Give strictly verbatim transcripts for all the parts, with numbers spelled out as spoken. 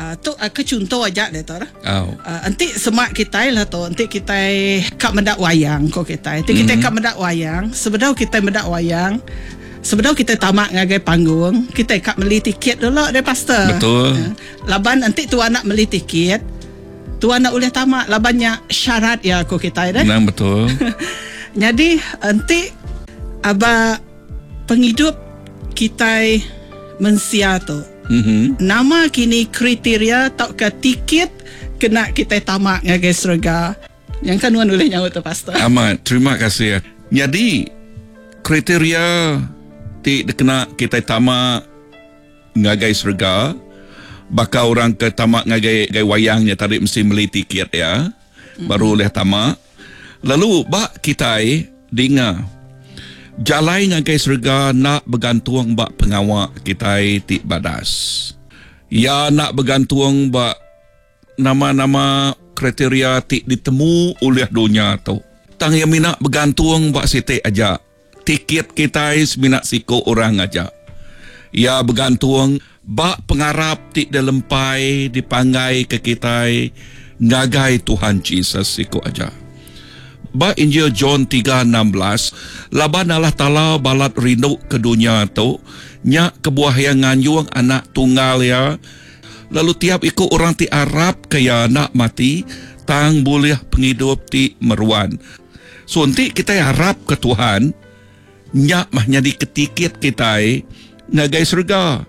Uh, tu uh, ke chunto aja deh tu. Oh. Uh, enti semak kita lah tu, enti kita kak mendak wayang ko kita. Enti kita mm-hmm. kak mendak wayang, sebedau kita mendak wayang, sebedau kita tamak ngagai panggung, kita kak beli tiket dulu deh pastor. Betul. Uh, laban enti tu anak beli tiket, tu anak boleh tamak labannya syarat ya ko kita deh. Nang betul. Jadi enti aba penghidup kita mensia tu. Mm-hmm. Nama kini kriteria tau ke tiket kena kita tamak ngagai surga. Yang kan nuan boleh nyaut tu pastor. Amat, terima kasih. Jadi kriteria ti kena kita tamak ngagai surga, bakal orang ke tamak ngagai ngagai wayangnya tadi mesti beli tiket ya. Mm-hmm. Baru boleh tamak. Lalu bak kita dengar jalai ngagai surga nak bergantung bak pengawak kita ti badas. Ya nak bergantung bak nama-nama kriteria ti ditemu oleh dunia tu. Tang yang minat bergantung bak sitik aja. Tiket kita minat siko orang aja. Ya bergantung bak pengarap ti dilempai dipanggai ke kita ngagai Tuhan Jesus siko aja. Ba Injil John tiga enam belas, laban Allah Ta'ala balat rindu ke dunia tu, nyak kebuah yang nganjung anak tunggal ya, lalu tiap ikut orang ti Arab kaya nak mati, tang boleh penghidup ti meruan. So nanti kita harap ke Tuhan, nyak mah nyadi ketikit kita ngagai surga.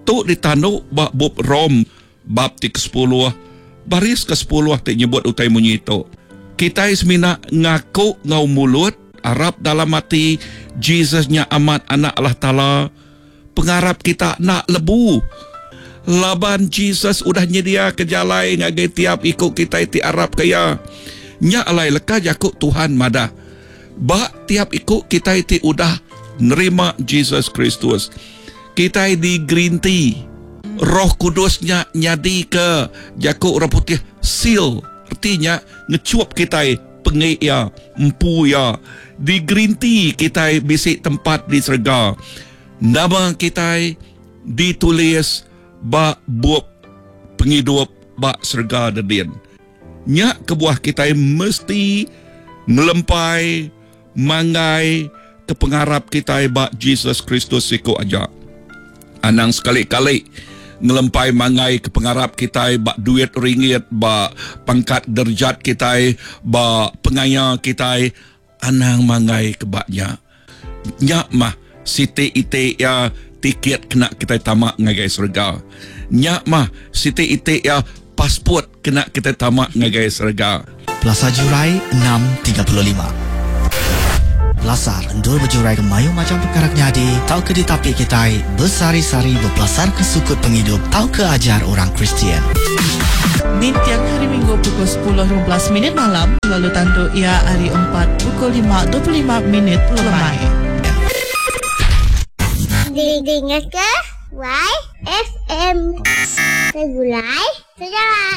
Tu ditanduk bab bab Rom bab ti ke sepuluh, baris ke sepuluh ti nyebut utai munyi tu. Kita semina ngaku ngau mulut, arap dalam hati Jesusnya amat anak Allah Ta'ala. Pengarap kita nak lebu. Laban Jesus udah nyedia ke jalai ngagai tiap ikut kita ti arap kaya. Nyak alai leka jakuk Tuhan madah. Bak tiap ikut kita ti udah nerima Jesus Kristus. Kita di green tea. Roh Kudusnya nyadi ke jakuk orang putih seal. Artinya ngecuap kita pengik ya, empu ya. Di green tea kita bisi tempat di serga. Nama kita ditulis bak bup penghidup bak serga dedin. Nyak kebuah kita mesti ngelempai manggai ke pengarap kita bak Jesus Kristus siko aja. Anang sekali-kali ngelempai mangai ke pengarap kita bak duit ringgit, bak pangkat derjat kita, bak pengaya kita, anang mangai ke baknya. Nyak mah siti ite ya tiket kena kita tamak ngagai surga. Nyak mah siti ite ya pasport kena kita tamak ngagai surga. Plaza Jurai enam tiga puluh lima. Pelasar endur berjurai ke mayu macam perkara nyadi, tau ke ditapi kita bersari-sari berpelasar ke sukut penghidup, tau ke ajar orang Kristian. Nintiang hari Minggu pukul sepuluh lima belas minit malam, lalu tentu ia hari empat pukul lima dua puluh lima minit lemai. Dengar ke Y F M Segulai Sejalan.